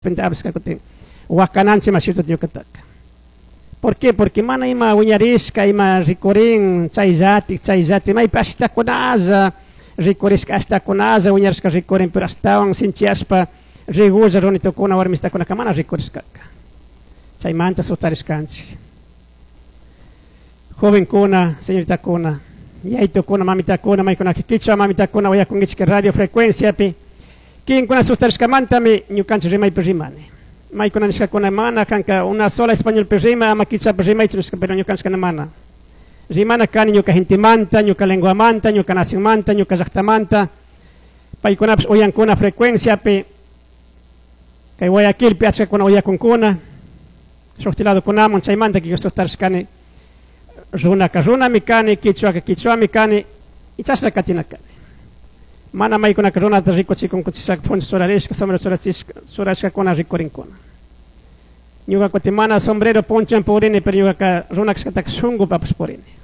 Repente abrisca kutin wakananchik mashituta ñukataka. ¿Por qué? Porque mana ima wiñarishka, ima rikurin chayllatik, chayllatik, maypi ashtakunalla rikurishka, ashtakunalla wiñarishka rikurin, pero ashtawan sinchiyashpa rigulla runitukuna, warmistakunaka mana rikurishkaka. Chaymanta sutarishkanchik. Jovenkuna, señoritakuna, yaytukuna, mamitakuna, maykunaka kichwa mamitakuna, uyakunkichik radio frecuenciapi, kinkuna sustarishkamantami ñukanchik rimaypi rimani. Maykuna nishkakuna mana kanka una sola españolpi rima, ama kichwapi rimaychu nishka, pero ñukanchikuna mana. Rimana kani ñuka gentemanta, ñuka lenguamanta, ñuka nacionmanta, ñuka llaqtamanta. Paykunapish uyankuna frecuenciapi, kay Guayaquilpi achkakuna uyakunkuna, shukti ladokunaman chaymanta kiki sustarishkani, runaka runami kani, kichwaka kichwami kani, y chashna katina kani. Mana maykunaka runata rikuchikunkuchishaka puncha churarishka, sombrero churashkakuna rikurinkuna. Ñuka kutin mana sombrero ponchan purini, pero ñukaka runa kashkataka shunkupapish purini.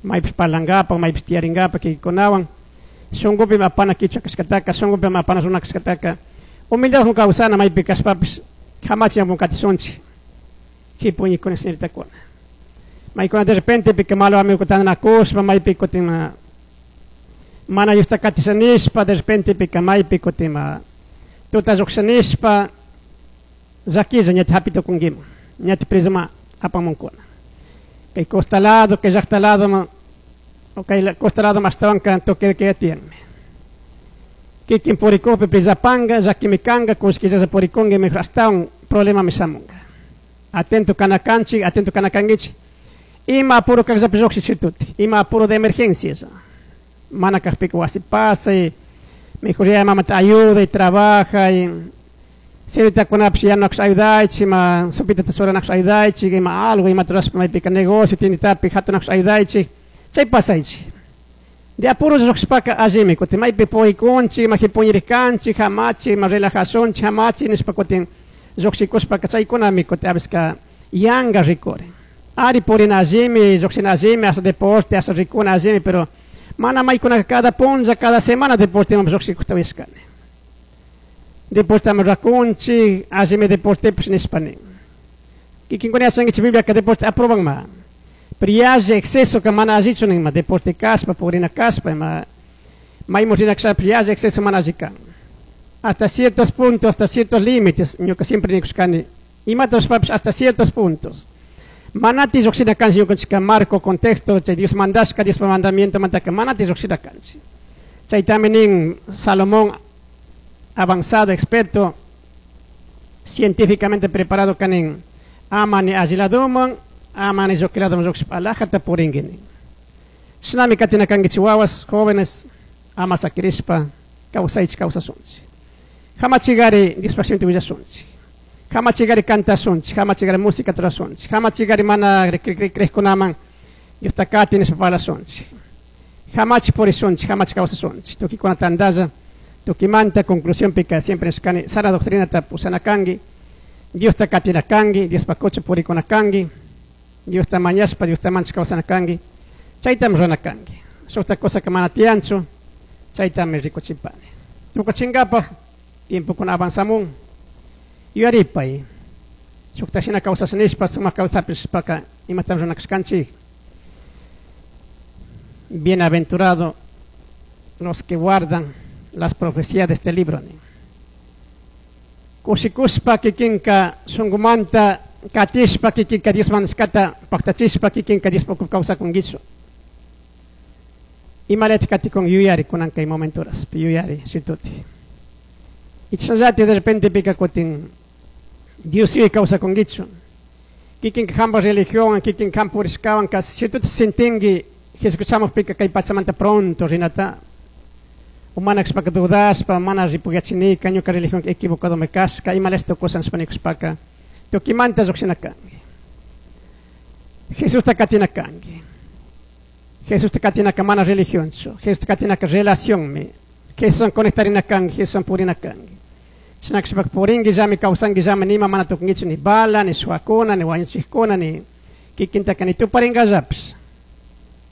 Maypish parlankapak, maypish tiyarinkapak kikikunawan, shunkupi apana kichwa kashkataka, shunkupi apana runa kashkataka, humildadwan kawsana maypi kashpapish, kamachiwan katishunchik, kipuñikuna señoritakuna. Maykuna de repente pika malo amigo tantanakushpa, maypi kutin mana Diosta katishanishpa, de repente pika maypi kutin tuta llukshanishpa, llakilla ñata hapi tukunkiman, ñata presoman apamunkuna. Kay costa lado, kay llakta lado, o kay costa lado ashtawanka toque de tiyanmi. Kikin purikukpi presapanka, llakimi kanka, kullkillalla purikunki, mejor ashtawan problemami shamunka. Atento kana kanchik, atento kana kankichik. Ima apuro kaqllapi lluqshichituti, ima apuro de emergencia. Mana kaqpika wasi pasay, mejor ya mamata ayuda y trabaja y señoritakunapish yanunakush ayudaychik, ima sopitata churanakush ayudaychik, ima algo, imata rurashpa maypika negocio tienditapi hatunakush ayudaychik, chay pasaychik. De apuro lluqshishpaka allimi, kutin maypi purikunchik, ima jipuñirkanchik, hamachik, ima relajashunchik, hamachik nishpa kutin lluqshikushpaka chaykunami kutin a veces yanka rikurin. Ari purina allimi, lluqshina allimi, hasta deporte, hasta rikuna allimi, pero mana maykunaka cada punlla, cada semana deporteman lluqshikukta uyashkani. Deporteman rakunchik, allimi deportepish nishpa nin. Kikinkuna yachankichik Bibliaka deporte aprobanma. Pero yalli exceso ka mana allichu ninma, deporte kashpa, purina kashpa, ima maymun rina kashpapish yalli exceso mana alli kan. Hasta ciertos puntos, hasta ciertos límites, ñuka siempre nikushkani, imata rurashpapish hasta ciertos puntos. Manati lluqshina kanchik ñukanchikka marco, contexto, chay Dios mandashka, Diospa mandamiento mantaka manati lluqshina kanchik. Chaytami nin Salomón, avanzado, experto, científicamente preparado kanin, ama ni alli ladoman, ama ni lluqui ladoman lluqshishpa alajata purinki nin. Chashnami katina kankichik wawas, jóvenes, ama sakirishpa kawsaychik kawsashunchik. Hamachigari Diospaj shimita willashunchik. Hamachigari cantashunchik, hamachigari música rurashunchik, hamachigari mana crejkunaman Diosta kati nishpa parlashunchik. Hamachik purishunchik, hamachik kawsashunchik. Tukikuna tantalla, tukimanta conclusión pika siempre nishkani sana doctrinata pushana kanki, Diosta katina kanki, Diospaj kucha purikuna kanki, Diosta mañashpa, Diosta manchik kawsana kanki, chaytami rurana kanki. Shukta cosa que mana tiyanchu, chaytami rikuchipani. Tukuchinkapaj tiempokuna avanzamun, yuyaripay, shukta shina kawsasha nishpa, sumak kawsapishpaka imatami rurana kashkanchik. Bienaventurado los que guardan las profecías de este libro. Kushikushpa kikinka shunkumanta katishpa kikinka Dios mandashkata paktachishpa kikinka Dios kawsakunkichu. Imaleti katikun yuyari kunan kay momentoras, yuyari shituti. Y chashallati de repente pika kutin Dios yuyay kawsakunkichu. Kikinka hampa religión, kikinka hampa purishkawan kasi shituti sintinki Jesucristo pika kay pachamanta pronto rinata. Umana kashpaka dudashpa, mana ripuyachinika, ñuka religión equivocado me kashka, imalesto cosa nishpa nikushpaka, tukimanta lluqshina kanki. Jesusta katina kanki. Jesusta katinaka mana religionchu, Jesusta katinaka relacionmi, Jesuswan conectarina kanki, Jesuswan purina kanki. Chashna kashpaka purinki llami, kawsanki llami, nima mana tukunkichu ni bala, ni suwakuna, ni wañuchikuna, ni kikintaka ni tuparinkallapish.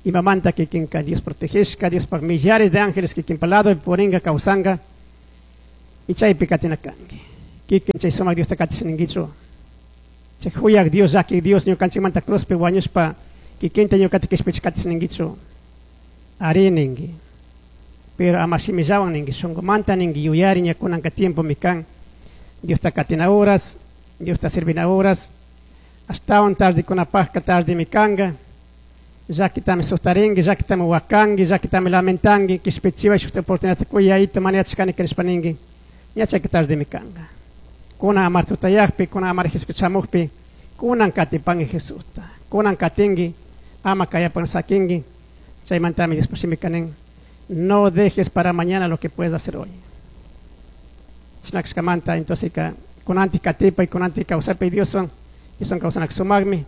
Imamanta kikinka Dios protegeshka, Diospaj millares de ángeles kikinpa lado purinka kawsanka, y chaypi katina kanki. Kikin chay sumak Diosta katisninkichu. Chay huyak Dios, llaki Dios ñukanchikmanta cruzpi wañushpa kikinta ñukata kishpichi katisninkichu. Ari ninki. Pero ama shimillawan ninki, shunqumanta ninki, yuyari ña kunanka tiempomi kan. Diosta katina horas, Diosta servina horas, ashtawan tardekunapajka tardemi kanka. Llakitami sustarinki, llakitami wakanki, llakitami lamentanki, kishpichiway shuk oportunidad kuyayta mana yachashkani nishpa ninki, ña chayka tardemi kanka. Kunan amar tutayakpi, kunan amar Jesucristo shamukpi, kunan katipanki Jesusta, kunan katinki, ama kayapan sakinki, chaymantami Dios shimika nin, no dejes para mañana lo que puedes hacer hoy. Chinakshkamanta, entonces ka kunanti katipay, kunanti kawsapay Dioswan, Dioswan kawsanak sumakmi,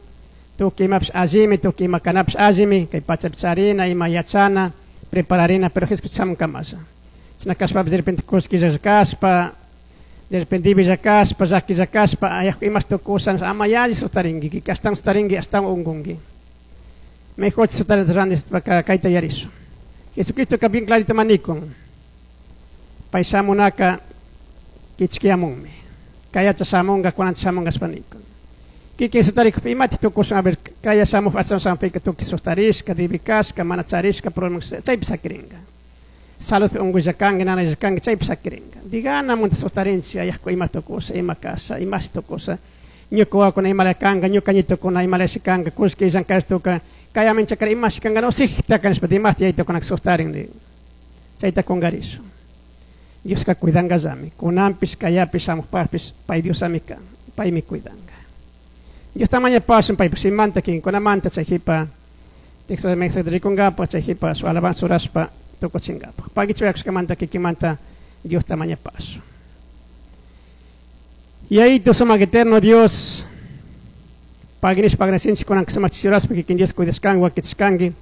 tukuy imapish allimi, tukuy ima kanapish allimi, kay pachapi charina, ima yachana, prepararina, pero Jesucristo shamun kamasha. China kashpapish de repente kullkilla kashpa, de repente ibilla kashpa, llakilla kashpa, ayaj imash tukusha, ama yalli sustarinki, ashtawan sustarinki, ashtawan unkunki. Mejor sutarinta randis kayta yarishu. Jesucristo ka bien clarito manikun. Pay shamunaka kichkiyamunmi. Kayacha shamunga, kunancha shamunga shpanikun. Kikin sutarikupi imati tukushun, a ver, kaya shamuj asan shampika tukuy sustarishka, dibikashka, mana charishka, problema, chaypi sakiringa. Saludpi unquylla kanki, nanaylla kanki, chaypi sakiringa. Digana munta sustarinchik, ayajku ima tukusha, ima kasha, imashi tukusha. Ñuka wawakuna imala kanka, ñuka ñitukuna imalashi kanka, kullki llankashtuka, kaya minchakara imashi kanka, no sijtaka nishpa, dimasti yaytukunaka sustarin, digo. Chayta kungarishu. Dioska cuidangallami, kunanpish, kayapish, shamukpajpish, pay Diosami kan, paymi cuidanga. Dios tamaño pasun, pay pusimanta, kinkunamanta, chay jipa, texto de mensaje rikungapa, chay jipa, su alabanza urashpa, tukuchingapa. Pagichu yakushkamanta, kikimanta, Dios tamaño paso. Y ahí tu sumak eterno Dios, paginish pagnasinchik kunan sumak chiraspa, kikin Dios cuidashkangi, wakichishkangi.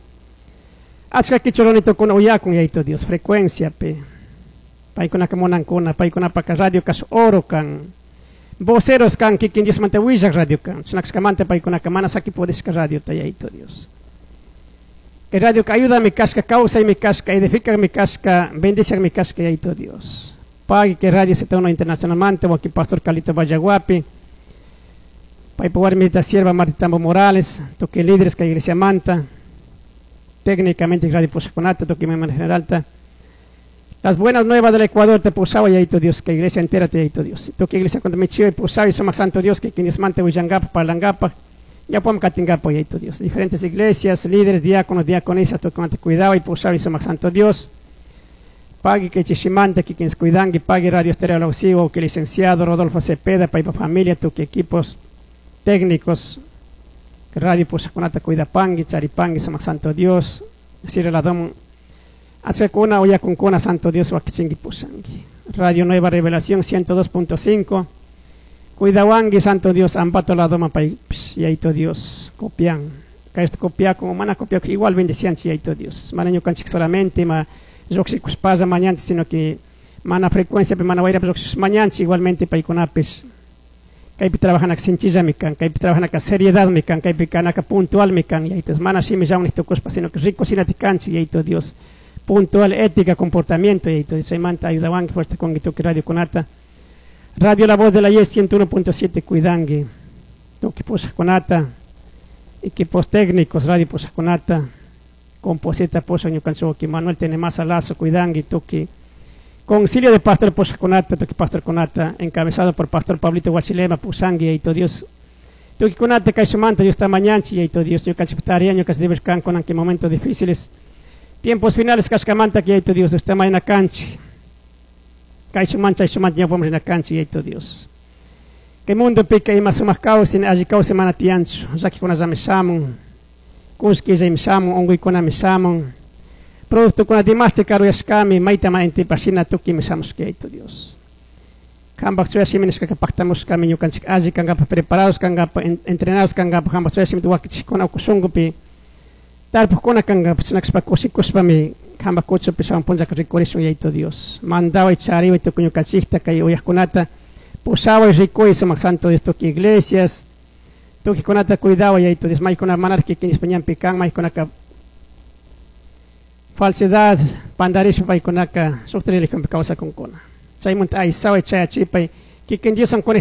Achka kichuroni tukuna uyakun, yayito Dios, frecuencia pe. Paykunaka munankuna, paykunapaka radio kash oro kan. Voceros kan, kikin Dios manta willak radio kan. Chinakshkamanta paykunaka mana saki pudishka radio ta, yayito Dios. Que radio ka ayuda mi kashka, causa mi kashka, edifica mi kashka, bendice mi kashka, yayito Dios. Pague que radio Z1 Internacional manta, o aquí Pastor Calito Vallaguapi. Paypa warmita sierva Marta Tambo Morales, toque líderes que iglesia manta. Técnicamente radio Pusaconata, toque mi general ta. Las buenas nuevas del Ecuador te pusaba y ahí Dios, que iglesia entera te ahí Dios. Toque iglesia cuando me chivo y pusaba y somos santo Dios, que quienes mante huyangapa, palangapa, ya podemos catingapa y ahí Dios. Diferentes iglesias, líderes, diáconos, diaconisas, toque mante cuidado y pusaba y somos santo Dios. Pague que chishimante, que quienes cuidan, que pague Radio Estéreo La Usivo, que licenciado Rodolfo Cepeda, pa familia, toque equipos técnicos, que Radio Pusaconata cuida pangui, charipangui, somos santo Dios. Cierra la dom. Hace cuna o ya con cuna, santo Dios, wakichingi pusangui. Radio Nueva Revelación 102.5. Cuidawangui, santo Dios, ambato la doma pay, psh, y ahí to Dios, copian. Ka esto copia como mana copia, igual bendecían, y ahí to Dios. Mana ñukanchik solamente, ma roxicus pasa mañana, sino que mana frecuencia, pe mana guaira, roxicus mañana, igualmente paykunapis. Kaypi trabajan sencilla mi kan, kaypi trabajan acá seriedad mi kan, kaypi kan acá puntual mi kan, y ahí to mana sí me llaman esto cospa, sino que rico sin atikanchi, y ahí to Dios. Puntual, ética, comportamiento, y ahí to Dios. Manta, ayudaban, que fuerte con que Radio Conata. Radio La Voz de la Yes 101.7, Cuidangui. Toque Posa Conata. Equipos técnicos, Radio Posa Conata. Composita Posa Ñucanchoqui, Manuel Tenemasa Lazo, Cuidangui, Toque. Concilio de Pastor Posa Conata, Toque Pastor Conata, encabezado por Pastor Pablito Guachilema, Pusangui, y todo Dios. Toque Conata, Caixomanta, Dios está mañanchi, y todo Dios, Ñucanchiptaria, Ñucanchiptaria, con en momentos difíciles. Tiempos finales, Cascamanta, que hay todo Dios, está mañana canchi. Caixomanta, Caixomanta, ya podemos ir a canchi, y hay todo Dios. Que mundo pica y más o más caos, en allí caos semana tiancho, ya que con las amesamos, cusqui ya imsamos, ongo y con amesamos, producto con además de caro y escami, maita ma ente pasina tuki mesamos que hay todo Dios. Kambak suya simenes que pactamos camino canchi, allí cangapa preparados, cangapa entrenados, cangapa, kambak suya simenes tuwaki con aukusungupi. Tarpukuna kanga psinaxpa kusikuspa mi kamba kuchu pisawan puncha rikurisun yayto Dios. Mandawa y chariwa y tukuñu kachikta kay uyajkunata pusawa y rikuy sumak santo Dios tuki iglesias. Tukikunata cuidawa yayto Dios. Maykuna manarki kinis pañanpi kan, maykunaka falsedad, pandarispa paykunaka sukta religionpi kawsakunkuna. Chaymunta aysawa y chayachipay Kikin Dios.